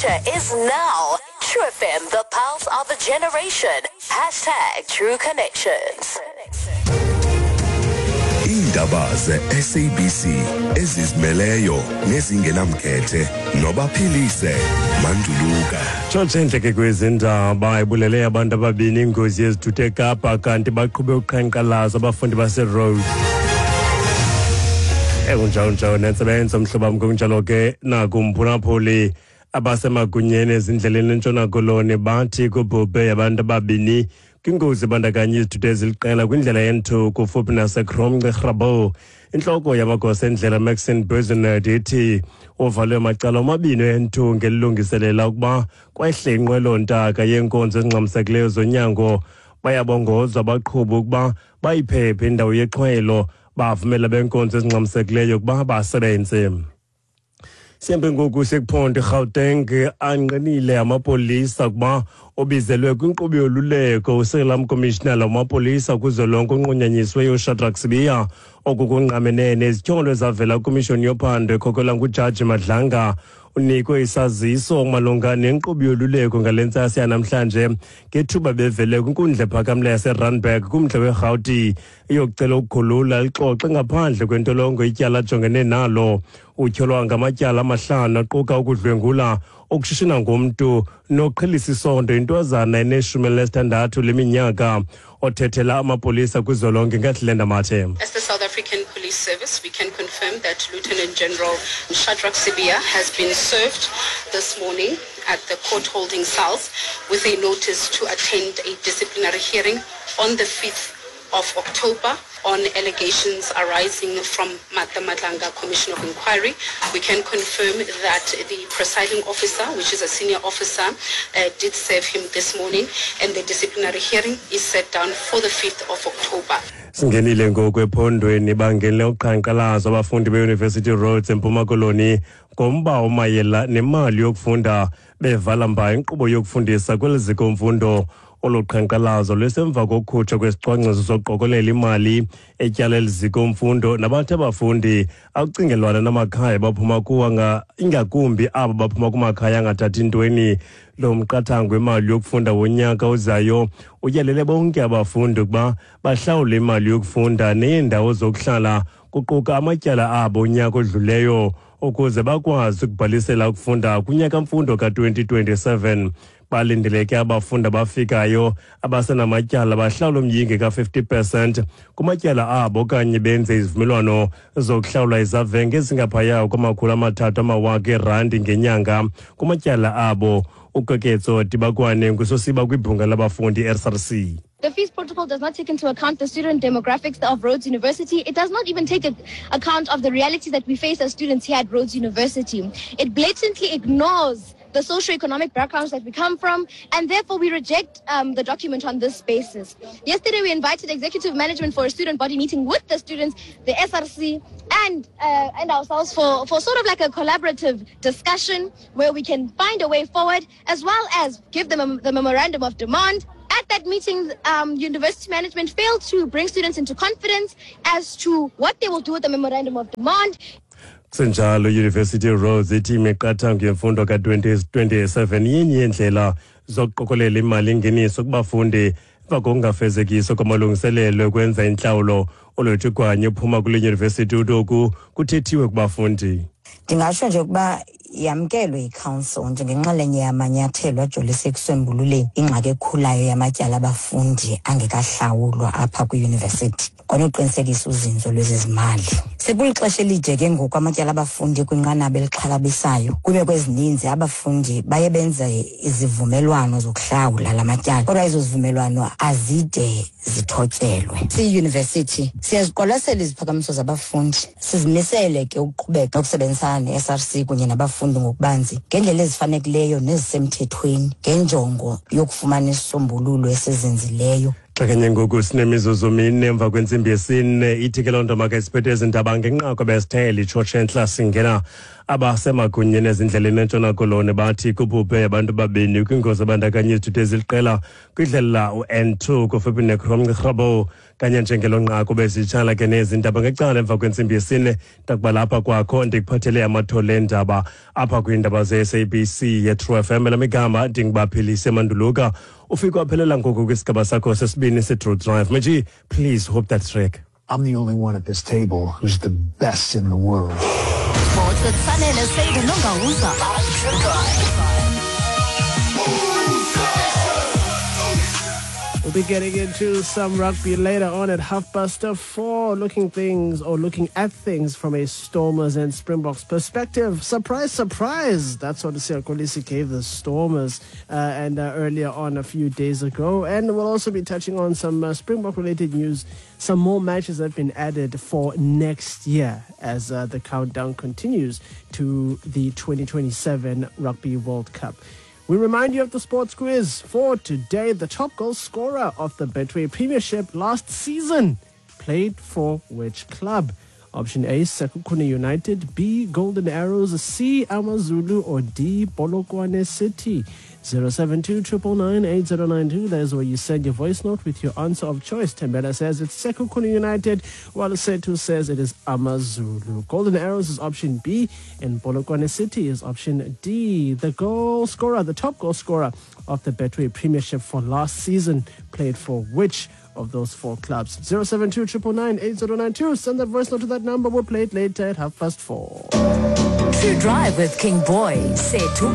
future is now. True FM, the pulse of a generation. Hashtag True Connections. Iindaba ze-SABC ezizimeleyo nezingenamkhethe nobaphilise manduluka. Tshotshe entle kwezi ndaba ibulele abantu ababini ingozi yezithuthu eKapa kanti baqhube uqhankqalazo abafundi baseRhodes. Ekunjalo-njalo nentsebenzo mhlobo wam kunjalo ke nakumphulaphuli abasemagunyeni ezindleleni eNtshona Koloni bathi kubhubhe abantu ababini kwingozi ebandakanya izithuthi eziliqela kwindlela ye-N2 kufuphi nasekromce Grabouw. Intloko yamagosa endlela Maxine Buzenard ithi uvalwe macala omabini e-N2 ngelilungiselela ukuba kwehle inqwelo-ntaka yeenkonzo ezingxamisekileyo zonyango. Bayabongozwa abaqhubi ukuba bayiphephe indawo yexhwelo bavumela benkonzo ezingxamisekileyo ukuba basebenze. Sihambe ngoku sekuphondo iGauteng angqinile amapolisa ukuba obizelwe kwinkqubo yoluleko usekela mkomishinala wamapolisa kuzwelonke onqunyanyisiweyo uShadrack Sibiya. Oku kungqamene nezityholo ezavela kwimishoni yophando ekhokelwa ngujaji Madlanga. Unikwe isaziso malunga nenkqubo yoluleko ngale ntsasa yanamhlanje ngethuba bevele kwinkundla ephakamileyo yaseRandburg kumntla weRhawuti iyokucela ukukhulula lixoxe ngaphandle kwentolongo ityala ajongene nalo. Utyholwa ngamatyala amahlanu aquka ukudlwengula, ukushishina ngomntu noqhelisa isondo intwazana eneshumi elinesithandathu leminyaka. Othethela amapolisa kuzwelonke ngahlenda Mathe. As the South African Police Service, we can confirm that Lieutenant General Shadrack Sibiya has been served this morning at the court holding cells with a notice to attend a disciplinary hearing on the 5th of October on allegations arising from the Madlanga Commission of Inquiry. We can confirm that the presiding officer, which is a senior officer, did serve him this morning, and the disciplinary hearing is set down for the 5th of October. Singenile ngoku ephondweni bangenele uqhankqalazo abafundi be-University Rhodes eMpuma Koloni ngomba omayela nemali yokufunda bevala mba inkqubo yokufundisa kweli ziko mfundo. Olu qhankqalazo lwesemva kokukhutshwa kwesicwangciso sokuqokelela imali etyala eli ziko mfundo nabathi abafundi akucingelwana namakhaya baphuma kuwo ingakumbi abo baphuma kumakhaya angathathi ntweni. Lo mqathango wemali yokufunda wonyaka ozayo utyalele bonke abafundi ukuba bahlawule imali yokufunda neendawo zokuhlala kuquka amatyala abo unyaka odluleyo ukuze bakwazi ukubhalisela ukufunda kunyaka-mfundo ka-2027. Balindeleke abafundi abafikayo abasenamatyala bahlawule umyinge ka-50% kumatyala abo okanye benze izivumelwano zokuhlawula izavenge ezingaphaya kwama-300 amawaka eerandi ngenyanga kumatyala abo. Ukeketso Dibakwane ngusosiba kwibhunga labafundi SRC. The fees protocol does not take into account the student demographics of Rhodes University. It does not even take account of the realities that we face as students here at Rhodes University. It blatantly ignores the socioeconomic backgrounds that we come from, and therefore we reject the document on this basis. Yesterday we invited executive management for a student body meeting with the students, the SRC, and ourselves for sort of like a collaborative discussion where we can find a way forward, as well as give them the memorandum of demand. At that meeting, university management failed to bring students into confidence as to what they will do with the memorandum of demand. Kusenjalo, University Rhodes ithi imiqathango yemfundo ka-2027 yenye yeendlela zokuqokelela imali engeniso kubafundi emva kokungafezekiswa kwamalungiselelo ekwenza intlawulo. Olwethu Gwanye uphuma kule yunivesithi uthi oku kuthethiwe kubafundi. Ndingatsho nje ukuba yamkelwe yi-council njengenxalenye yamanyathelo ajolise ekusombululeni ingxaki ekhulayo yamatyala abafundi angekahlawulwa apha kwiyunivesithi kwanokuqinisekisa uzinzo lwezezimali. Sekulixesha elide ke ngoku amatyala abafundi kwinqanaba elixhalabisayo. Kwiimeko ezininzi abafundi baye benze izivumelwano zokuhlawula la matyala, kodwa ezo zivumelwano azide zithotyelwe. Siyiyunivesithi siyaziqwalasela iziphakamiso zabafundi, sizimisele ke ukuqhubeka nokusebenzisana ne-SRC kunye nabafundi ngokubanzi ngendlela ezifanekileyo nezisemthethweni ngenjongo yokufumana isisombululo esizinzileyo. Xa kanye ngoku sinemizuzu mine emva kwentsimbi yesine, ithi ke loo nto makasiphethe ezi ndaba ngenqaku besithele itshotshe entla singena Abasemagunyeni ezindleleni eNtshona Koloni bathi kubhubhe abantu 2 kwingozi ebandakanya izithuthi eziliqela kwindlela u-N2 kufuphi neKromgrabo. Kanye njengelo nqaku bezitshala ke nezi ndaba ngecala emva kwentsimbi yesine, ndakuba lapha kwakho ndikuphathele amathole endaba apha kwiindaba ze-SABC ye-True FM. Elam igama ndinguBaphilise Manduluka. Ufike waphelela ngoku kwisigaba sakho sesibini se-True Drive. Maji, please hope that track. I'm the only one at this table who's the best in the world. Sports with Sanele Seide Nongawuza. We'll be getting into some rugby later on at 4:30, looking at things from a Stormers and Springboks perspective. Surprise, surprise. That's what Siya Kolisi gave the Stormers and earlier on a few days ago. And we'll also be touching on some Springbok-related news. Some more matches have been added for next year as the countdown continues to the 2027 Rugby World Cup. We remind you of the sports quiz for today. The top goal scorer of the Betway Premiership last season played for which club? Option A, Sekhukhune United, B, Golden Arrows, C, AmaZulu, or D, Polokwane City. 072 999 8092. That is where you send your voice note with your answer of choice. Tembela says it's Sekhukhune United, while Setu says it is AmaZulu. Golden Arrows is option B, and Polokwane City is option D. The goal scorer, the top goal scorer of the Betway Premiership for last season, played for which of those four clubs? 072 999 8092. Send that voice note to that number. We'll play it later at 4:30. True Drive with King Boy, Setu.